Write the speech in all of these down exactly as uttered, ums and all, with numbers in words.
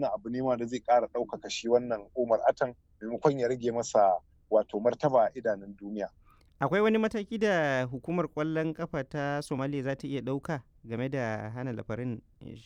Wannan abu ne ma da zai ƙara ɗaukaka shi wannan Umar Atan maimakon ya rage masa wato martaba a idanun duniya. Akwai wani mataki da hukumar ƙwallon ƙafa ta Somalia za ta iya ɗauka game da hana lafarin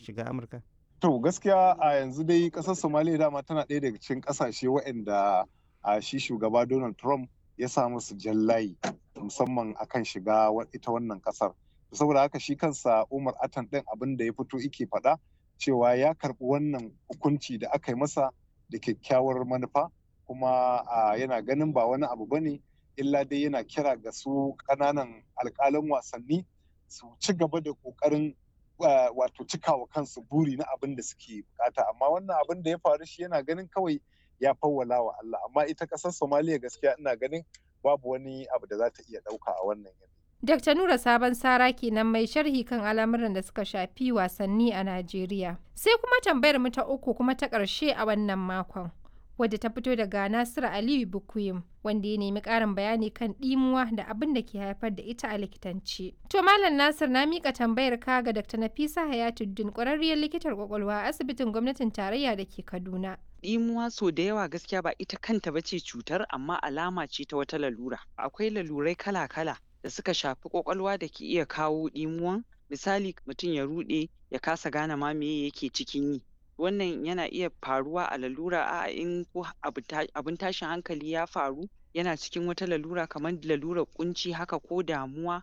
shiga Amurka? To gaskiya a yanzu dai ƙasar Somalia dama tana ɗaya daga cikin ƙasashe waɗanda a shi shugaba Donald Trump ya sa musu jallayi musamman akan shiga ita wannan ƙasar. Saboda haka shi kansa Umar Atan ɗin abin da ya fito yake faɗa cewa ya karɓi wannan hukunci da aka yi masa da kyakkyawar manufa, kuma yana ganin ba wani abu bane illa dai yana kira ga su ƙananan alƙalan wasanni su ci gaba da ƙoƙarin wato cikawa kansu buri na abin da suke bukata. Amma wannan abin da ya faru, shi yana ganin kawai ya fawwala wa Allah. Amma ita ƙasar Somaliya gaskiya ina ganin babu wani abu da za ta iya ɗauka a wannan yanayi. Dakta Nura Sabon Sara kenan, mai sharhi kan al'amuran da suka shafi wasanni a Najeriya. Sai kuma tambayar mu ta uku kuma ta ƙarshe a wannan makon, wadda ta fito daga Nasiru Aliyu Bukuyim, wanda ya nemi ƙarin bayani kan ɗimuwa da abin da ke haifar da ita a likitance. To Malam Nasir, na miƙa tambayar ka ga Dakta Nafisa Hayatuddin, ƙwararriyar likitar ƙwaƙwalwa a asibitin gwamnatin tarayya da ke Kaduna. Ɗimuwa so da yawa gaskiya ba ita kanta ba ce cutar, amma alama ce ta wata lalura. Akwai lalurai kala-kala da suka shafi ƙwaƙwalwa da ke iya kawo ɗimuwan. Misali, mutum ya ruɗe ya kasa gane ma meye yake cikin yi. Wannan yana iya faruwa a lalura a'a in ko abun tashin hankali ya faru, yana cikin wata lalura kamar lalurar ƙunci haka ko damuwa,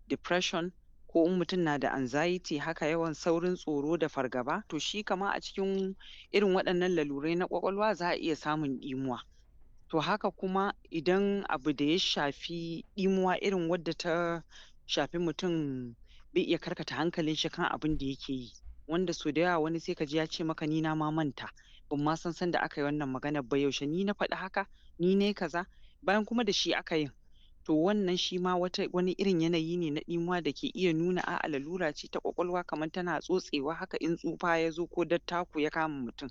depression, ko in mutum na da anxiety haka, yawan saurin tsoro da fargaba. To shi kamar a cikin irin waɗannan lalurai na ƙwaƙwalwa za a iya samun ɗimuwa. To haka kuma idan abu da ya shafi ɗimuwa irin wadda ta shafi mutum bai iya karkata hankalin shi kan abin da yake yi, wanda sau da yawa wani sai ka ji ya ce maka, "Ni na ma manta, ban ma san sanda aka yi wannan maganar ba, yaushe ni na faɗi haka, ni nayi kaza," bayan kuma da shi aka yin. To wannan shi ma wata wani irin yanayi ne na ɗimuwa da ke iya nuna a'a, lalura ce ta ƙwaƙwalwa kamar tana tsotsewa haka in tsufa ya zo ko dattako ya kama mutum.